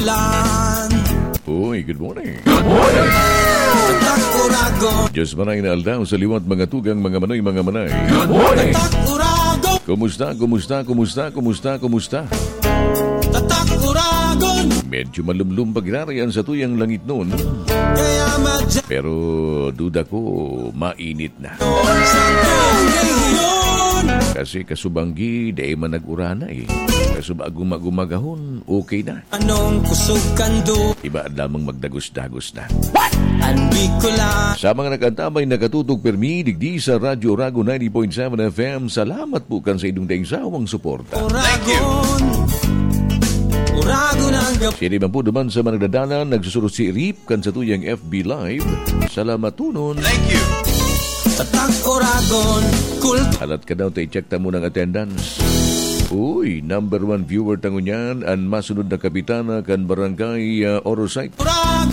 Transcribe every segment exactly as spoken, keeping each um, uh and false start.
Lan. Uy, good morning. Good morning. Tatak Oragon. Diyos manay na aldaw sa liwat, mga tugang, mga manoy, mga manay. Good morning. Tatak Oragon. Kumusta, kumusta, kumusta, kumusta, kumusta? Tatak Oragon. Medyo malumlum pag-irarayan sa tuyang langit noon. Kaya madya- Pero duda ko, mainit na. Sa tunggal ngayon. Kasi kasubanggi, dai man nag-urana eh. Kasubag gumagahon, okay na. Anong kusog kan du- Iba lamang magdagos-dagos na. An Bicolan. Sa mga nag-antabay, nakatutok permi, digdi sa Radyo Oragon ninety point seven F M, salamat po kan sa inyong daing sawang suporta. Oragon. Oragon ang gab- Siya naman po duman sa mga nagdadalan, nagsusurot si Rip kan sa tuyang F B Live. Salamat tunon. Thank you. Tatak Oragon, kult- Alat ka daw, ta i-check ta muna ang attendance. Uy, number one viewer ta ngunyan, an masunod na kapitana kan barangay, ah, Orosite.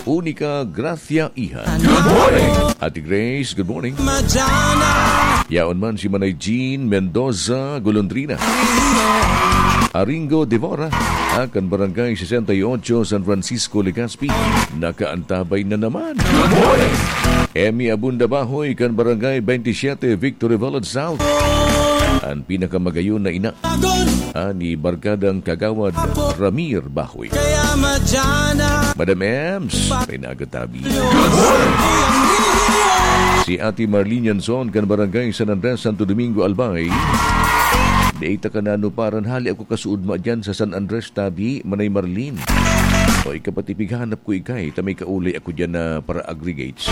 Unica Gracia Iha. Good morning. Ate Grace, good morning. Madyan na. Yaon man si Manay Jean Mendoza Golondrina. Aringo Devora, ah, kan barangay sesenta y ocho, San Francisco, Legazpi. Nakaantabay na naman. Good morning. Emmy Abunda Bahoy, kan barangay twenty-seven, Victory Village South. An pinakamagayon na ina, ah, ni Barkadang Kagawad Ramir Bahoy. Kaya madyan na. Madam Ems, may nagatabi. Si Ate Marlene Yanson, kan barangay San Andres, Santo Domingo, Albay. Dai ta ka nanuparan, hali ako kasuod ma dyan sa San Andres, tabi, Manay Marlene. O, ikapatipig hanap ko ikay, ta may kaulay ako dyan na para aggregates.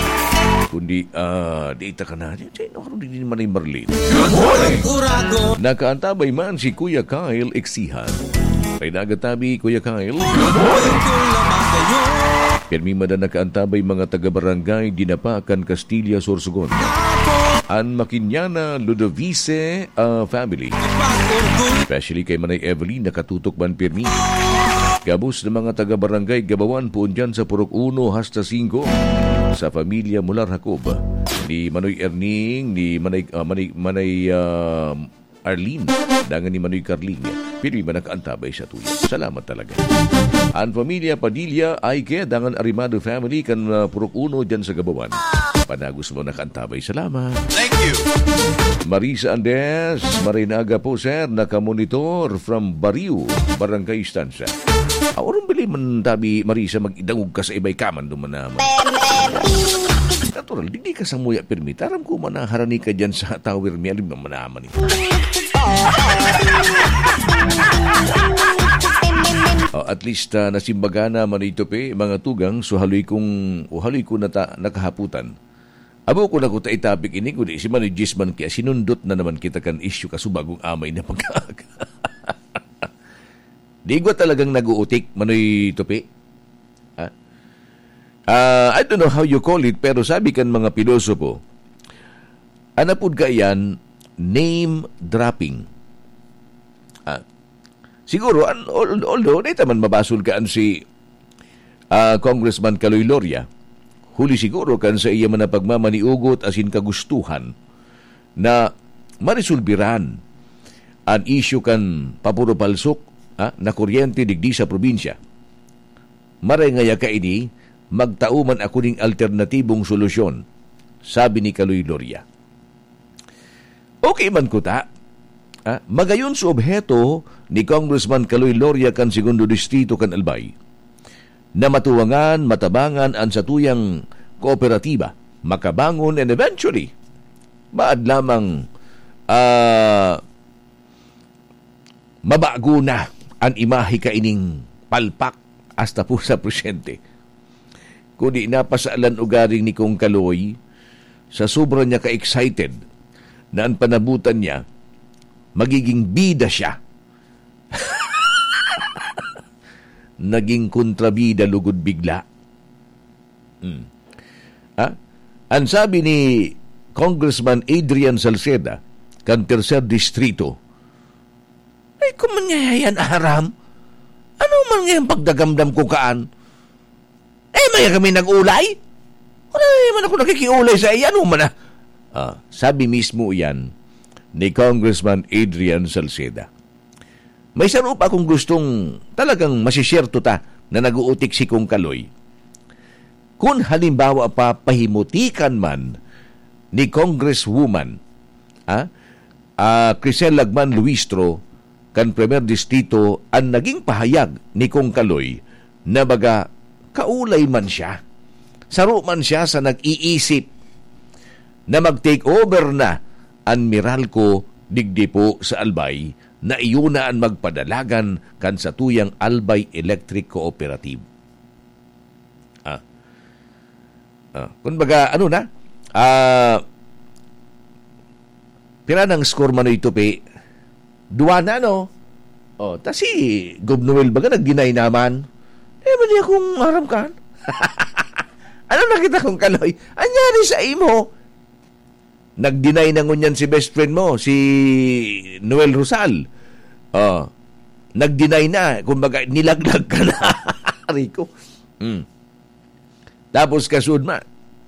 Kundi, ah, dai ta ka na, di, di, di, di, Manay Marlene. Good morning. Nakaantabay man si Kuya Kyle Exihan. May nagatabi, Kuya Kyle. Pirmi man an nakaantabay mga taga-barangay Dinapa kan Castilla, Sorsogon. An Makinyana, Ludovice, ah, family. Especially kay Manay Evelyn, nakatutok man pirmi. Gabos na mga taga-barangay Gabawan, poon dyan sa Purok Uno hasta Singko. Sa pamilya Mular Jacob, ni Manoy Erning, ni Manay, ah, Manay, Manay, ah, Arlene, dangan ni Manoy Carling. Pirmi man nakaantabay sa tuya. Salamat talaga. An pamilya Padilla, Aike, dangan Arimado family kan, ah, Purok Uno dyan sa Gabawan. Panagos mo nakaantabay. Salamat. Thank you. Marisa Andes, marinaga po, sir. Nakamonitor from Barrio, Barangay Estancia. Aw, orong bili man tabi, Marisa, magidangog ka sa iba'y kaman duman naman. Natural, digdi ka sa muya pirmi. Taram ko man na harani ka dyan sa tower mi. Alam mo naman eh. Oh, at least, ah, nasimbaga na man ito, pe, mga tugang. So, haloy kong, o haloy ko na ta-, nakahaputan. Abo ko na ko ta itapik ini, kundi si Manijis man kaya sinundot na naman kita kan isyu kasubagong amay na pagkaaga. Di gwa talagang nag-uutik, Manoy Tupi. Ha? Ah, I don't know how you call it, pero sabi kan mga pilosopo, anapod kaiyan, name dropping. Ah, siguro, an-, al-, although, di ta man mabasol kaan si, ah, Congressman Kaloy Loria, huli siguro kan sa iya man na pagmamaniugot asin kagustuhan na maresolbiran an isyu kan papuro palsok, ha, na kuryente digdi sa probinsya. Maray ngaya kaini, magtao man ako ning alternatibong solusyon, sabi ni Kaloy Loria. Okay man kuta, ha, magayon sa obheto ni Congressman Kaloy Loria kan Segundo Distrito kan Albay, na matuwangan, matabangan an satuyang kooperatiba, makabangon, and eventually, maad lamang, ah, mabago na an imahe kaining palpak hasta po sa presyente. Kundi napasalan ugaring ni Kong Kaloy, sa sobra niya ka-excited na an panabutan niya, magiging bida siya. Naging kontrabida lugod bigla. Hmm. Ha? An sabi ni Congressman Adrian Salceda, kan Tercer Distrito, "Ay, kung man nga yan, aram? Ano man nga yung pagdagamdam ko kaan? Eh, maya kami nag-ulay? Wala naman ako nakikiulay sa iya, ano man ah?" Ah, sabi mismo yan ni Congressman Adrian Salceda. May saro pa akong gustong talagang masishare to ta, na nag-uutik si Kong Kaloy. Kun halimbawa pa, pahimutikan man ni Congresswoman, ah, ah, Crisel Lagman Luistro, kan Primer Distrito, an naging pahayag ni Kong Kaloy na baga kaulay man siya. Saro man siya sa nag-iisip na mag-take over na an Meralco digdi po sa Albay, na iyo na an magpadalagan kan satuyang Albay Electric Cooperative. Ah. Ah, kumbaga, ano na? Ah, pira nang score, Manoy Tupi? Duwa na, no? Oh, ta si Gob Noel baga nag-deny naman. Eh, mali akong aram kan. Ano nakita kong Kaloy? Anyari sa imo? Nag-deny na ngunyan si best friend mo, si Noel Rosal. Oh, nag-deny na. Kumbaga, nilaglag ka na. Aray ko. Hmm. Tapos kasunod ma,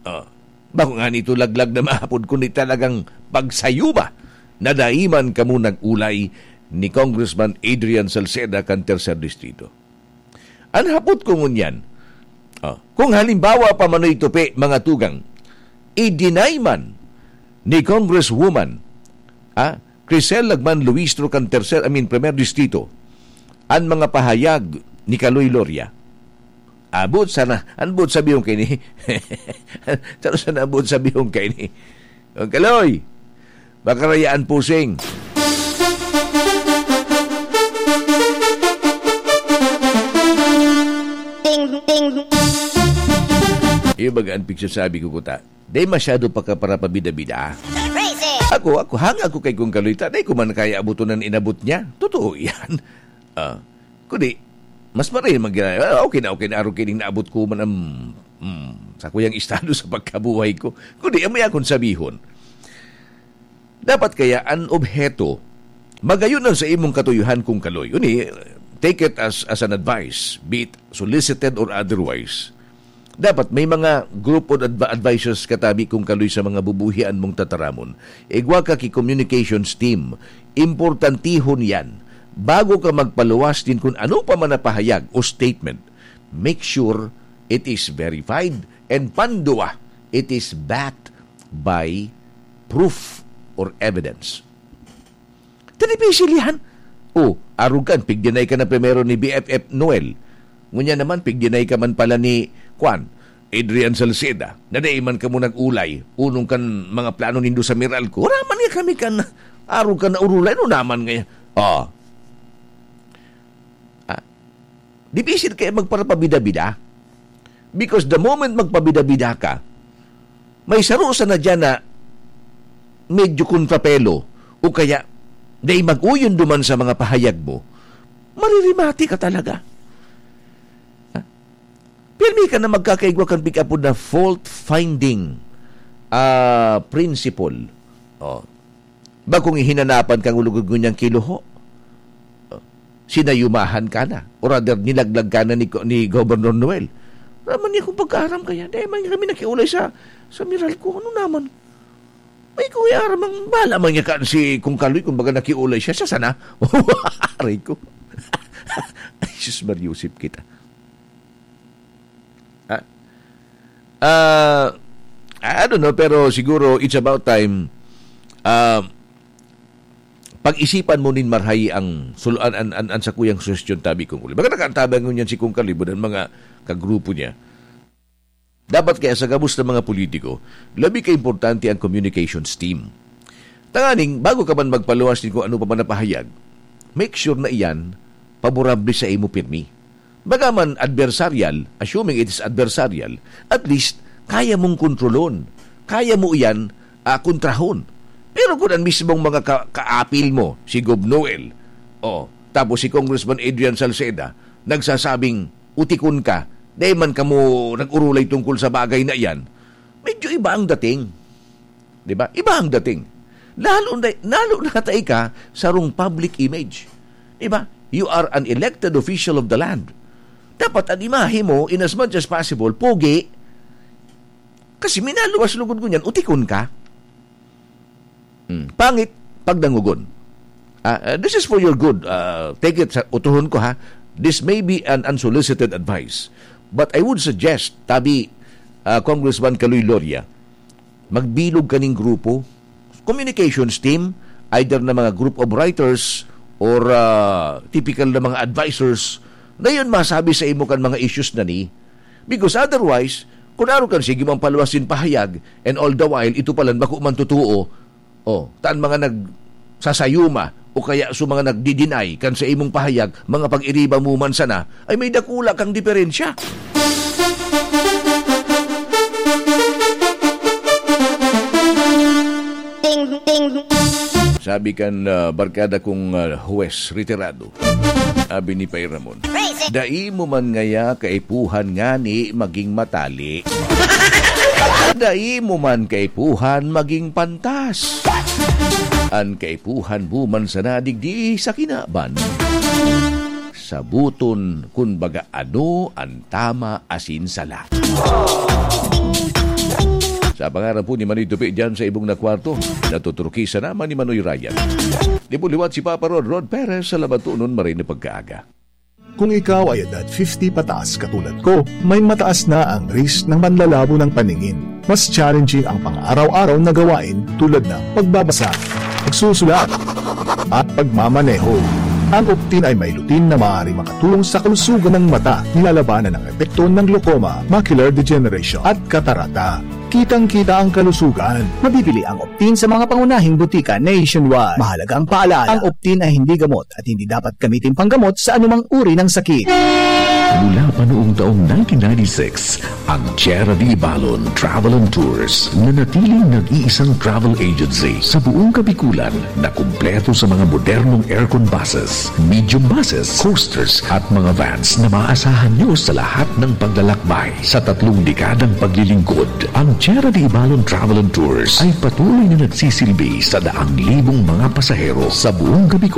oh, bako nga nito laglag na maapod, kundi talagang pagsayuba na dai man kamo nag-ulay ni Congressman Adrian Salceda kan Tercer Distrito. An hapot ko ngunyan, oh, kung halimbawa pa, Manoy Tupi, mga tugang, i-deny man ni Congresswoman, ah, Crisel Lagman Luistro kan Tercer, I mean, Primer Distrito, an mga pahayag ni Kaloy Loria. Abot sana, an buot sabihon kaini. Taro sana an buot sabihon kaini. Ang Kaloy, makarayaan pusing. Ting, ting. Iyo baga an pigsasabi ko, kuta. Dai masyado pagkaparapabida-bida. Crazy! Ako, ako, hanga ako kay Kong Kaloy ta, dai ko man kaya abuton an inabot niya. Totoo yan. Ah, kundi, mas maray mag-, ah, okay na, okay na, arog kining naabot ko man ang, mm, sa kuyang estado sa pagkabuhay ko. Kundi, amo akong sabihon. Dapat kaya an obheto, magayon na sa imong katuyuhan, Kong Kaloy. Uni, take it as, as an advice, be it solicited or otherwise. Dapat may mga group of adv-, advisors ka tabi, Kong Kaloy, sa mga bubuhian mong tataramon. Igwa ka ki communications team. Importantihon yan. Bago ka magpaluwas din kun ano pa man na pahayag o statement, make sure it is verified, and panduwa, it is backed by proof or evidence. Ta dipisil yan. O, arog kan, pig-deny ka na primero ni B F F Noel. Ngunyan naman, pig-deny ka man pala ni, kwan, Adrian Salceda, na dai man kamo nag-ulay, unong kan mga plano nindo sa Meralco. Wala man nga kami kan, arog kan naurulay, ano naman nga yan? Ah. Ah, dipisil kaya magparapabida-bida. Because the moment magpabida-bida ka, may saro sana diyan na medyo kontrapelo o kaya dai mag-uyon duman sa mga pahayag mo, maririmati ka talaga. Ha? Pirmi ka na magkakaigwa kan pig-apod na fault-finding, ah, principle. Oh. Bakong ihinanapan kang lugod ngunyan kiluho. Oh. Sinayumahan ka na. Or rather, nilaglag ka na ni, ni Governor Noel. Raman niya kung pagkaaram kaya. Dahil man kami nakiulay sa, sa Meralco. Ano naman? May kuya aram ang bala man niya kaan si Kong Kaloy, kumbaga nakiulay siya. Siya sana. Aray ko. Ay, sus, Mariusip kita. Ah, ah, I don't know, pero siguro it's about time, ah, pag-isipan mo nin marhay ang sul-, an, an, an, an sakuyang suhestyon, tabi, Kong Kaloy. Baga nakaantabang ngunyan si Kong Kaloy, ang mga kagrupo niya. Dapat kaya sa gabos na mga politiko, labi ka importante ang communications team. Tanganing, bago ka man magpaluwas nin kung ano pa man na pahayag, make sure na iyan paborable sa imo pirmi. Baga man adversarial, assuming it is adversarial, at least, kaya mong kontrolon. Kaya mo iyan, ah, kontrahon. Pero kung ang mismong mga ka-, kaapil mo, si Gob Noel, oh, tapos si Congressman Adrian Salceda, nagsasabing, "Utikon ka, dai man kamo nag-urulay tungkol sa bagay na iyan," medyo iba ang dating. Di ba? Iba ang dating. Lalo na, lalo na ta ika sarong public image. Di ba? You are an elected official of the land. Dapat an imahe mo, in as much as possible, pogi. Kasi minaluwas lugod ngunyan, utikon ka. Hmm. Pangit, pagdangogon. Ah, ah, this is for your good. Ah, take it sa utuhon ko, ha. This may be an unsolicited advice, but I would suggest, tabi, ah, Congressman Kaloy Loria, magbilog kaning grupo, communications team, either na mga group of writers or, ah, typical na mga advisors, na yun masabi sa imo kan mga issues na ni. Because otherwise, kung aro kan sige man paluwas sin pahayag, and all the while, ito palan bako man totoo, oh, taan mga nagsasayuma o kaya sa mga nagdi-deny kan sa imong pahayag, mga pag-iriba mo man sana, ay may dakula kang diferensya. Ting, ting. Sabi kan, ah, barkada kong, ah, huwes retirado, sabi ni Pay Ramon, "Dai mo man ngaya kaipuhan ngani maging matali. Dai mo man kaipuhan maging pantas. An kaipuhan mo man sana digdi sa kinaban. Sabuton kun baga ano an tama asin sala." Sa pangaran po ni Manoy Tupi diyan sa ibong na kwarto, natuturukisan naman ni Manoy Ryan. Di po liwat si Papa Rod, Rod Perez, sa Labatonon, maray na pagkaaga. Kung ikaw ay edad fifty pataas katulad ko, may mataas na ang risk ng panlalabo ng paningin. Mas challenging ang pang-araw-araw na gawain tulad ng pagbabasa, pagsusulat, at pagmamaneho. Ang Optin ay may lutein na maaaring makatulong sa kalusugan ng mata, nilalabanan ang epekto ng glaucoma, macular degeneration, at katarata. Kitang-kita ang kalusugan. Mabibili ang Optin sa mga pangunahing butika nationwide. Mahalagang paalala, ang Optin ay hindi gamot at hindi dapat gamitin panggamot sa anumang uri ng sakit. Mula pa noong taong nineteen ninety-six, ang Tierra de Ibalon Travel and Tours, nanatiling nag-iisang travel agency sa buong Kabikulan na kumpleto sa mga modernong aircon buses, medium buses, coasters at mga vans na maaasahan nyo sa lahat ng paglalakbay. Sa tatlong dekadang paglilingkod, ang Tierra de Ibalon Travel and Tours ay patuloy na nagsisilbi sa daang libong mga pasahero sa buong Kabikulan.